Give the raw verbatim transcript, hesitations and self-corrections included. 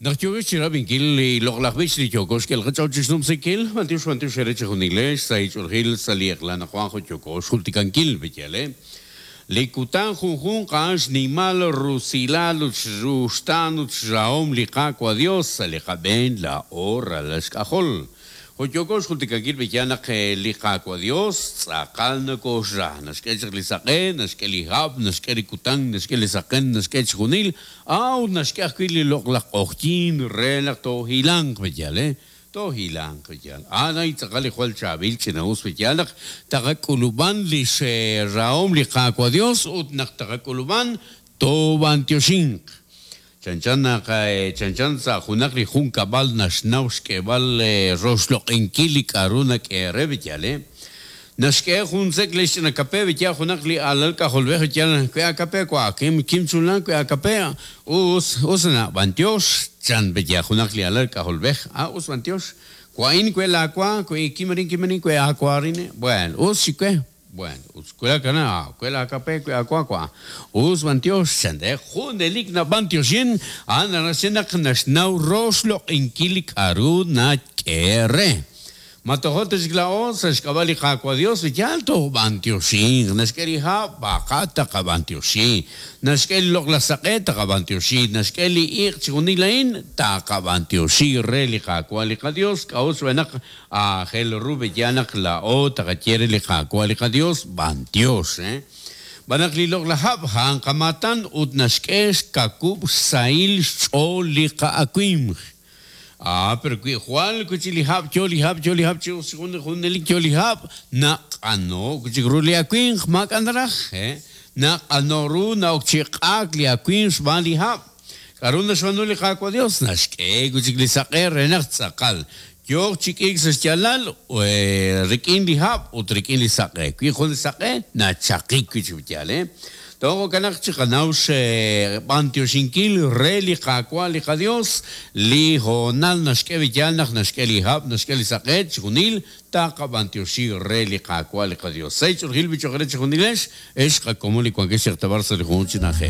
Naq yookeb' chi rab'inkil li loq'laj b'ich li yooko xk'el qach'ool chi xnumsinkil, b'antiox b'antiox eere chejunilex sa' ich'oolejil sa' li eq'la naq wan jo' yooko xjultikankil b'iyal, eh? Li kutan junjunq a'an xnimal rusilal ut xruxtaan ut xrahom li Qaawa' Dios sa' li qab'een laa'o ralal xk'ajol. Jo' yooko xjultikankil b'iyal naq li Qaawa' Dios tz'aqal nokoxra, naxk'e chaq li saq'e, naxk'e li hab', naxk'e li kutan, naxk'e li saqen, naxk'e chixjunil, aw naxk'e ajwi' li loq'laj q'ojyin re naq toohilanq b'iyal, eh? Toohilanq b'iyal. A'an ay tz'aqal li jwal chaab'il ch'ina'us b'iyal naq taqak'ulub'an li xrahom li Qaawa' Dios ut naq taqak'ulub'an toob'antioxinq. Chanchan naq chanchan sa' junaq li junkab'al naxnaw xk'eeb'al roxloq'inkil li k'a'ru nak'eere b'iyal, eh? Naxk'e jun sek' li xch'ina kape b'iyal junaq li alal k'ajolb'ej b'iyal kwe a kape kwa kim kim chunlan kwe a kape us us na b'antiox chan b'iyal junaq li alal k'ajolb'ej ah us b'antiox kwa'in kwe la kwa kwe kimarin kimarin kwe a kwarin bueno us xikwe bueno us kwe kana kwe la kape kwe a kwa kwa us b'antiox chan de junelik na b'antioxin a'an naxnaq naxnaw roxloq'inkil li k'a'ru nak'eere. Matojote xglao sa xk'ab'a li Qaawa' Dios yal toob'antioxin naxk'e li hab' baqa taqab'antioxi naxk'e li loq'laj saq'e taqab'antioxi naxk'e li iq' chixjunil a'in taqab'antioxi re li Qaawa' li qaDios k'a'ut xb'aan aajel ru b'iyal naq laa'o taqaye re li Qaawa' li qaDios b'antiox, eh? B'anaq li loq'laj hab' a'an qamatan ut naxk'e xkakub' xsahil xch'ool li qa'awimq. Ah, pero kwi jwal kuchi li hab' yo li hab' yo li hab' chi us jun junelik yo li hab' naq'ano kuchi ru li awinq maak'an raj, eh? Naq'ano ru na'ok chi q'aak li awinq xb'aan li hab'. K'a'ru naxb'aanu li Qaawa' Dios naxk'e kuchi li saq'e re naq tz'aqal. Yook chi k'iik sa' xyaalal, eh, rik'in li hab' ut rik'in li saq'e. Kwi jun li saq'e nachaqik kuchi b'iyal, eh? Togo kanaq chi qanaw xe b'antioxinkil re li Qaawa' li qaDios li hoonal naxk'e b'iyal naq naxk'e li hab' naxk'e li saq'e chixjunil taqab'antioxi re li Qaawa' li qaDios. Sei ch'oolejil bichoq re chixjunilex ex qakomon li wankex xeqtabar sa' li jun chi na'ajej.